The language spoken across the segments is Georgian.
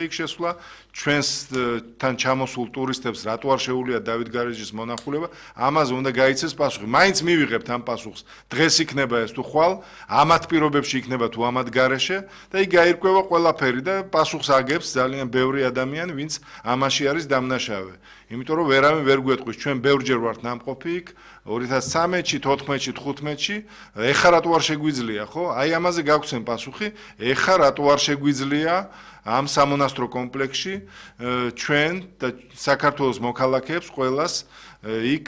იქ შესვლა ჩვენს თან ჩამოსულ ტურისტებს რატო არ შეუძლია დავით გარეჯის მონახულება ამაზე უნდა გაიცეს პასუხი მაინც მივიღებთ ამ პასუხს დღეს იქნება ეს თუ ხვალ ამათ პირობებში იქნება თუ ამათ გარეშე და იქ გაირკვევა ყველაფერი და პასუხს აგებს ძალიან ბევრი ადამიანი ვინც ამაში არის დამნაშავე იმიტომ რომ ვერავინ ვერ გვეტყვის ჩვენ ბევრჯერ ვართ ნამყოფი იქ 2013-ში 14-ში 15-ში ეხლა რატო არ შეგვიძლია ხო აი ამაზე გაგვცენ პასუხი ეხლა რატო არ შეგვიძლია ამ სამონასტრო კომპლექსში ჩვენ და საქართველოს მოქალაქეებს ყველას იქ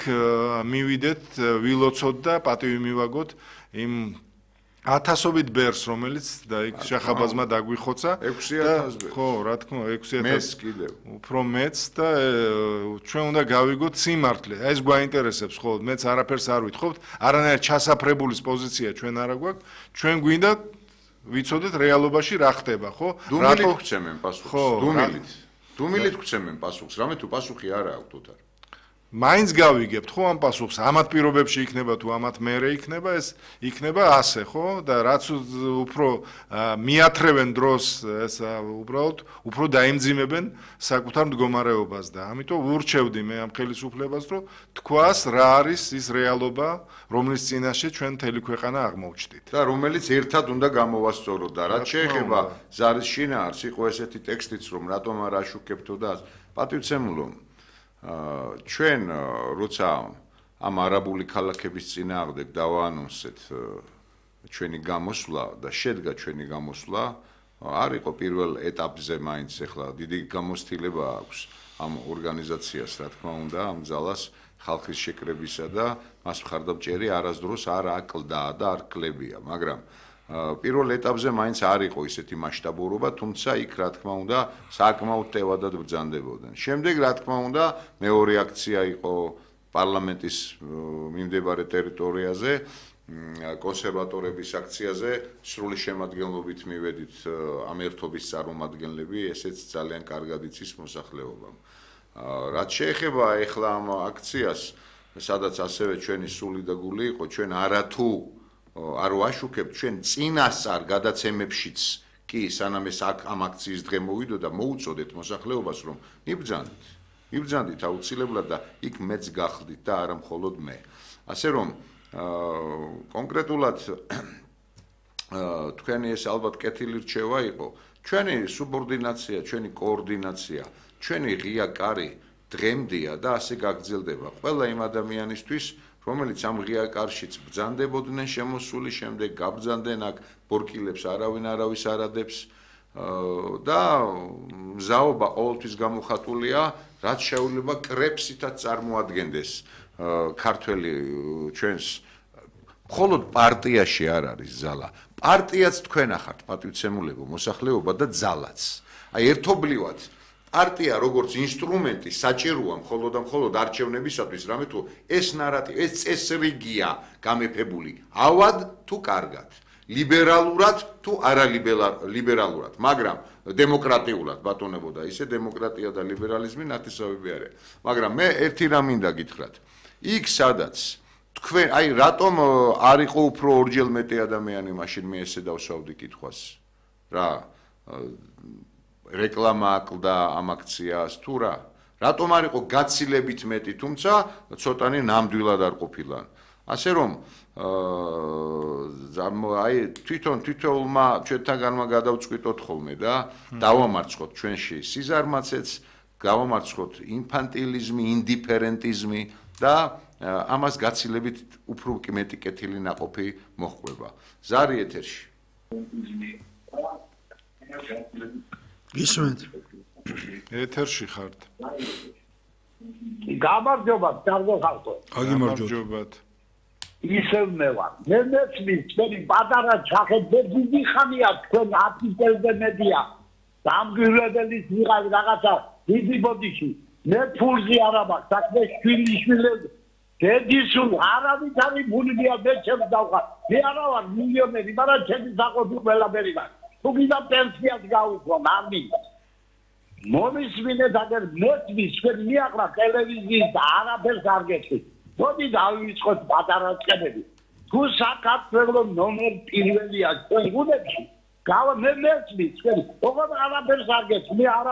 მივიდეთ ვილოცოთ და პატივი მივაგოთ იმ ათასობით ბერს რომელიც და იქ შახაბაზმა დაგვიხოცა 6000 ხო რა თქმა უნდა 6000 მეც კიდევ უფრო მეც და ჩვენ უნდა გავიგოთ სიმართლე ეს გვაინტერესებს ხო მეც არაფერს არ ვითხოვთ არანაირ ჩასაფრებულის პოზიცია ჩვენ არა გვაქვს ჩვენ გვინდა ვიცოდეთ რეალობაში რა ხდება ხო დუმილით გვცემენ პასუხს დუმილით გვცემენ პასუხს რამე თუ პასუხი არა აქვთ თუთ მაინც გავიგებთ ხო ამ პასუხს ამათ პირობებში იქნება თუ ამათ მერე იქნება ეს იქნება ასე ხო და რაც უფრო მიათრევენ დროს ეს უბრალოდ უფრო დაიმძიმებენ საკუთარ მდგომარეობას და ამიტომ ვურჩევდი მე ამ ხელისუფლებას რომ თქვას რა არის ის რეალობა რომლის წინაშე ჩვენ მთელი ქვეყანა აღმოვჩდით და რომელიც ერთად უნდა გამოვასწოროთ და რაც შეეხება ზარის შინაარს იყო ესეთი ტექსტიც რომ რატომ არ აშუქებთო და პატივცემულო ჩვენ როცა ამ არაბული ქალაქების წინააღმდეგ დავაანონსეთ ჩვენი გამოსვლა და შედგა ჩვენი გამოსვლა არ იყო პირველ ეტაპზე მაინც ახლა დიდი გამოცდილება აქვს ამ ორგანიზაციას რა თქმა უნდა ამ ძალას ხალხის შეკრებისა და მას მხარდამჭერი არასდროს არ აკლდა და არ კლებია მაგრამ პირველ ეტაპზე მაინც არ იყო ისეთი მასშტაბურობა, თუმცა იქ რა თქმა უნდა საკმაოდ ტევადად ბრძანდებოდნენ. შემდეგ რა თქმა უნდა მეორე აქცია იყო პარლამენტის მიმდებარე ტერიტორიაზე, კონსერვატორების აქციაზე, სრული შემადგენლობით მივედით ამ ერთობის წარმომადგენლები, ესეც ძალიან კარგად იცის მოსახლეობამ. რაც შეეხება ახლა ამ აქციას, სადაც ასევე ჩვენი სული და გული იყო, ჩვენ არათუ არ ვაშუქებთ ჩვენ წინასწარ გადაცემებშიც კი სანამ ეს ამ აქციის დღე მოვიდო და მოუწოდეთ მოსახლეობას რომ იბრძანდით აუცილებლად და იქ მეც გახდით და არა მხოლოდ მე ასე რომ კონკრეტულად თქვენი ეს ალბათ კეთილი რჩევა იყო ჩვენი სუბორდინაცია ჩვენი კოორდინაცია ჩვენი ღია კარი დღემდეა და ასე გაგრძელდება ყველა იმ ადამიანისთვის რომელიც ამ ღია კარშიც ბრძანდებოდნენ შემოსული შემდეგ გაბრძანდნენ აქ ბორკილებს არავინ არავის არ ადებს და მზაობა ყოველთვის გამოხატულია რაც შეუძლება კრებსითაც წარმოადგენდეს ქართველი ჩვენს მხოლოდ პარტიაში არ არის ზალა პარტიაც თქვენ ახართ პატივცემულებო მოსახლეობა და ძალაც აი ერთობლივად პარტია როგორც ინსტრუმენტი საჭიროა მხოლოდ არჩევნებისათვის რამე თუ ეს ნარატივი ეს წესრიგია გამეფებული ავად თუ კარგად ლიბერალურად თუ არალიბერალურად მაგრამ დემოკრატიულად ბატონებოდა ისე დემოკრატია და ლიბერალიზმი ნათესავები არის მაგრამ მე ერთი რამ მინდა გითხრათ იქ სადაც თქვენ აი რატომ არ იყო უფრო ორჯერ მეტი ადამიანი მაშინ მე ესე დავსვავდი კითხვას რა რეკლამა აკლდა ამ აქციას თუ რა რატომ არ იყო გაცილებით მეტი თუმცა ცოტანი ნამდვილად არ ყოფილან ასე რომ აი თვითონმა ჩვენთანმა გადავწყვიტოთ ხოლმე და დავამარცხოთ ჩვენში სიზარმაცეც გავამარცხოთ ინფანტილიზმი ინდიფერენტიზმი და ამას გაცილებით უფრო მეტი კეთილი ნაყოფი მოჰყვება ზარი ეთერში გისმენთ ეთერში ხართ გამარჯობათ კარგო ხალხო გამარჯობათ ისევ მე ვარ მე მეცმის თქვენი პატარა ჩახეთზე დიდი ხანია თქვენ არტიკელზე მედია დამგვირებელის ვიღაც რაღაცა დიდი ბოდიში მე ფულზე არა მაქვს საქმე შვილიშვილები დედისულ არავით არის ბუნებია მე ჩემს დავხარ მე არა ვარ მილიონერი მაგრამ ჩემი საყოფი ყველაფერი მაქვს თუ გინდა პენსიას გავუქო მამი მომისმინეთ აგერ მეცმის თქვენ მიაყრა ტელევიზიის და არაფერს არ გეცით მოდი დავიწყოთ პატარა წყებები თუ საქართველოს ნომერ პირველია თქვენ გუნდებში გავა მე მეცმის, ოღონდ არაფერს არ გეცმი, მე არა